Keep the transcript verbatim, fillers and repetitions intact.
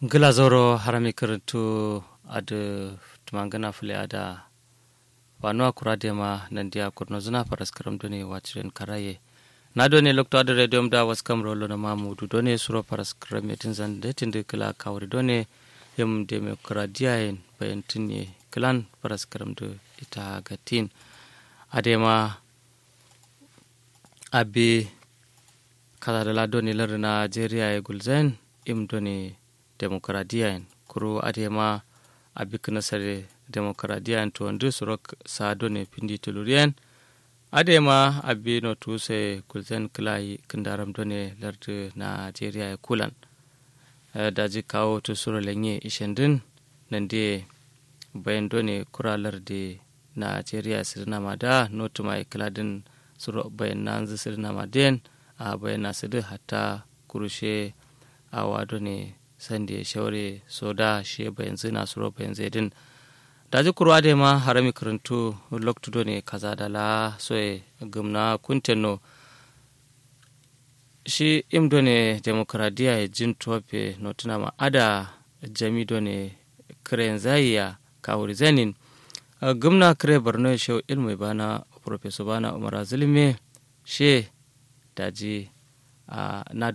Ngla zauro harami kǝrǝntu adǝ tǝmangǝna fǝle ada. Fanuwa kura dema nandiya kurnozǝna faraskaram done waciren karaye. Na done lokto adǝ rediyom da waskam rolo na mamudu done suro faraskaram ye tǝnzan de tǝndǝ kǝla kawuri done. Yim demokradiya yen bayan tǝnye kǝlan faraskaram dǝ ita gatin. Adema abi kazadala done lardǝ najeriya ye gulzain. Im done demokradiya yen kuru adema abi kǝnasare demokradiya yen tuwandǝ suro sa done findi tuluriyen. Adema abi notu sai gulzain kǝlayi kǝndaram done lardǝ najeriya ye kulan. Daji kawo tu suro lenye ishendin nandiye bayan done kura lardǝ najeriya sǝdǝna ma da notuma ye kǝladǝn suro bayan nanzǝ sǝdǝna ma den. A bayan na sǝdǝ hatta kurushe awa done sande shaure so da she bayanzǝ na suro bayanzǝ ye dǝn. Daji kuru adema harami kǝrǝntu loktu done kazadala soye gǝmna kuntenno. Shi im done demokradiya ye jin tofe notuna ma ada jami done kǝrenzaiya kawuri zainin. Gǝmna kǝre borno ye shau ilmu ye bana professor bana umar azulum ye she daji a na